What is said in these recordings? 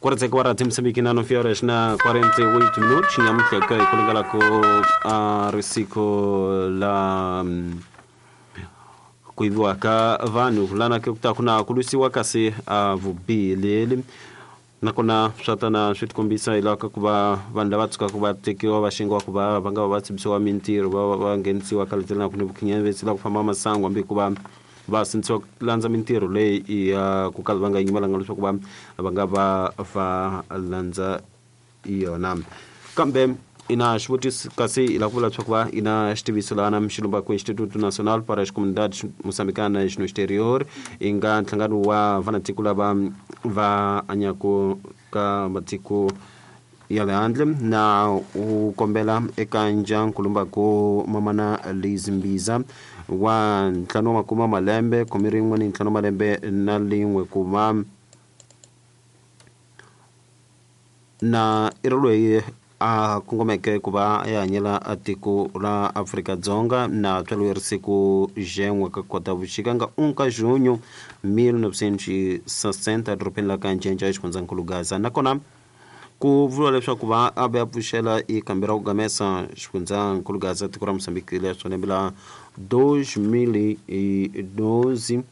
Quarta agora temos aqui na 9 horas na 48 minutos. Nyamutlha ka hi kulingala ku a risiko la ku yiviwa ka vanhu lana ke ku ta ku na ku lwisiwa kasi a vubihi leli nakona swa tana swi tikombisa hi laha ka ku va vanhu lava tshukaka va tekiwa va xengiwa ku va va nga va va tshembisiwa mintirho va va nghenisiwa ka letelaka ni vukhinyavesi la ku famba masangu hambi ku va va sindzisiwa ku landza mintirho leyi ya ku kala va nga yimelanga leswaku va va nga va va landza yona. Kambe ina xivutiso kasi hi lava ku vula leswaku va ina xitiviso laha na mixilumba ku Instituto Nacional para as Comunidades Moçambicanas no Exterior i nga nhlangano wa vanatiko lava va hanyaka ka matiko ya le handle na u kombela eka ndyangu lumbaku mamana Liz Mbiza wa 50 malembe 15 malembe na lin'we ku va na i ri loyi a kongomeke ku va ya hanyela tiko ra Afrika-Dzonga na tswariwe ri siku jen'we ka Khotavuxika nga 1 ka junho 1960 edorobeni la ka Ncenca exifundzhankulu Gaza. Nakona ku vuriwa leswaku va a va ya pfuxela i kambe ra ku gamesa xifundzhankulu Gaza tiko ra Mozambique leswo lembe la 2012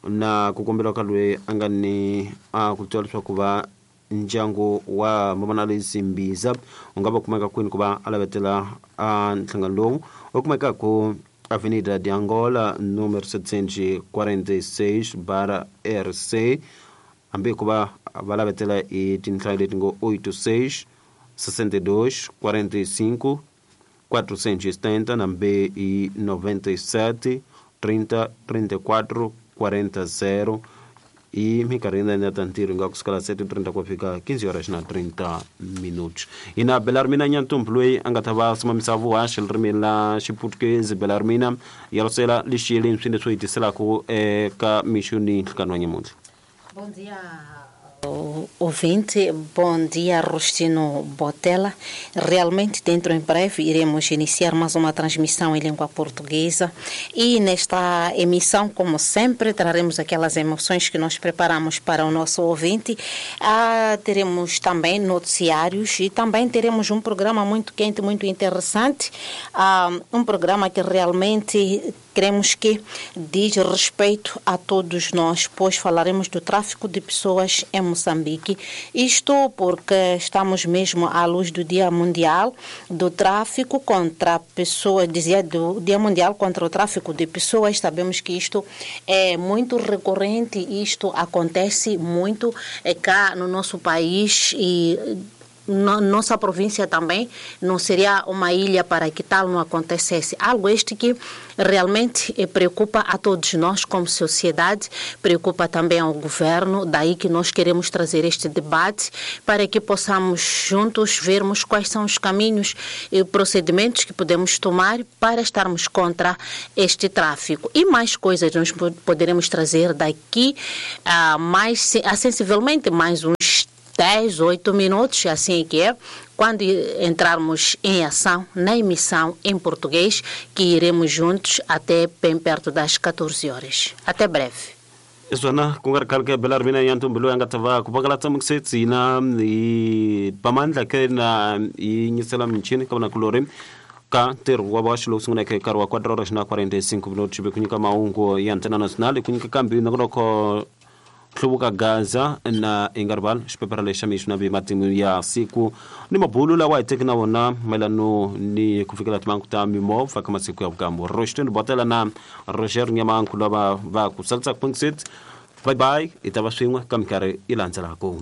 na ku komberiwa ka loyi a nga ni a ku twa leswaku va ndyangu wa mamana Liz Mbiza u nga va kumeka kwini ku va a lavetela a nhlangano lowu u kumeka ku Avenida de Angola número 746 barra RC hambi ku va va lavetela i tinhlayo leti ngo 86 62 45 470 nambe i 97 30 34 40 i minkarhi ya ta ntirho nga kusukela 7:30 ku fika 15 horas na 30 minutos. Ina Belarmina Nyantumbu loyi a nga ta va simamisa vuhaxi ririmi la Xiputukezi. Belarmina ya lusela lexiyeleni swi leswi hi tiselaka eka mixo ni nhlikani wa nyamuntlha. Bom dia, ouvinte. Bom dia, Rustino Botella. Realmente, dentro em breve, iremos iniciar mais uma transmissão em língua portuguesa. E nesta emissão, como sempre, traremos aquelas emoções que nós preparamos para o nosso ouvinte. Teremos também noticiários e também teremos um programa muito quente, muito interessante. Um programa que realmente queremos que diz respeito a todos nós, pois falaremos do tráfico de pessoas em Moçambique. Isto porque estamos mesmo à luz do Dia Mundial do Tráfico contra Pessoas, dizia do Dia Mundial contra o Tráfico de Pessoas. Sabemos que isto é muito recorrente, isto acontece muito cá no nosso país e nossa província também não seria uma ilha para que tal não acontecesse. Algo este que realmente preocupa a todos nós como sociedade, preocupa também ao governo, daí que nós queremos trazer este debate para que possamos juntos vermos quais são os caminhos e procedimentos que podemos tomar para estarmos contra este tráfico. E mais coisas nós poderemos trazer daqui a mais, a sensivelmente mais uns 10, 8 minutos, assim que é, quando entrarmos em ação, na emissão em português, que iremos juntos até bem perto das 14 horas. Até breve. Iswana ku nga ri khale ke Belarmina Nyantumbu loyi a nga ta va ku pangalatsa muksetsi na hi pamandla ke na yi nyisela michini ka vanakulorhi ka ntirho wa vaxi lowu sunguleke nkarhi wa 4 horas na 45 minutos ku nyika mahungu ya Antena Nacional ku nyika kambi nongonoko hluvuka Gaza na Ingarval xipepera lexi xa mixo na matimu ya siku ni mabulu lawa hi teki na wona mayelano ni ku fikela timhangu ta mimovha ka masiku ya vukambo. Rostin Botela na Roger Nyamanku lava va ku salisa ku bye bye hi ta va swin'we ka minkarhi yi landzelaka.